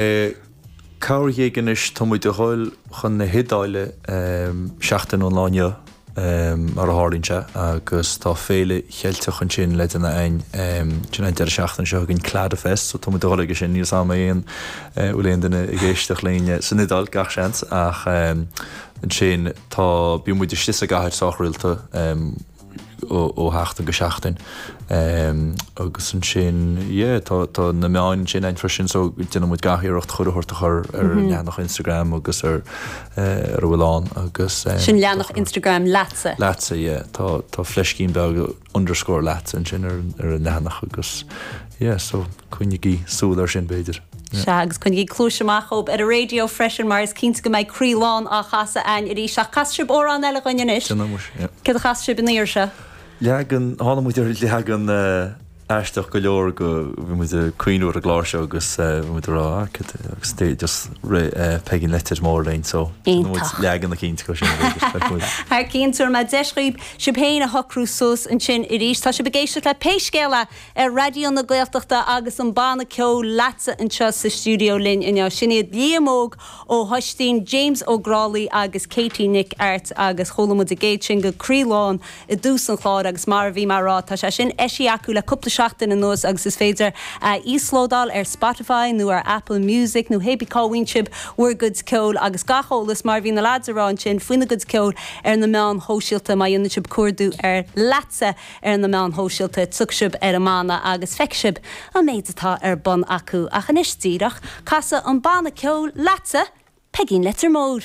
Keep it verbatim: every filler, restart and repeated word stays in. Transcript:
Corruair anois tá muid a dhul chun na hIodáile seachtain ón lá inniu mar a tharlaíonn sé agus tá féile Cheilteach ansin le déanamh againn sin an deireadh seachtaine seo againn Cladafest, so tá muid a dhul aige sin níl am aon bhfuil aon duine ag éisteacht linn san Iodáil gach seans ach ansin tá bí muid istigh sa gcathair sách rialta ó sheachtain go seachtain agus ansin tá tá na meáin sin ann freisin so déanann muid gach iarracht chuile shórt a chur ar an leathanach Instagram agus ar ar a bhfuil ann agus Sin leathanach Instagram leatsa. Leatsa yeah tá tá fleiscín beag underscore leatsa ansin ar ar an leathanach agus yeah so coinnigí súil ar sin b'fhéidir. Sea agus coinnigí cluas amach dóibh ar an raidió freisin mar is cinnte go mbeidh Croí Lán á chasadh againn arís ach cas sibh amhrán eile dhúinn anois. Céard a chas sibh an iarraidh seo? Leagan tháinig muid ar leagan aisteach go leor go bhí muid ag cuimhneamh ar an gclár seo agus bhí muid ag rá agus just Peigín Leitir Móir linn so leagan eicínt go sin. Thar cionn mé deis daoibh sibh féin a shocrú suas ansin arís Tá sibh ag éisteacht le pé scéal é ar Raidió na Gaeltachta agus an banna ceoil Leatsa anseo sa stiúideo linn inniu. Sin iad Liam Óg Ó hOistín, James Ó Grálaí agus Katie Nic Airt agus chuala muid an gcéad sin go Croí Lán i dtús an chláir agus mar a bhí mé ag rá tá sé sin eisithe acu le cúpla seachtain anuas agus is féidir a íoslódáil ar Spotify nó ar Apple Music nó hébí cá bhfaigheann sibh bhur gcuid ceoil agus gach eolas mar bhí na lads ag rá ansin faoina gcuid ceoil ar na meáin shóisialta má dhéanann sibh cuardú ar Leatsa ar na meáin shóisialta tiocfaidh sibh ar an mbanna agus feicfidh sibh an méid atá ar bun acu ach anois díreach casadh an banna ceoil Leatsa Peigín Leitir Móir.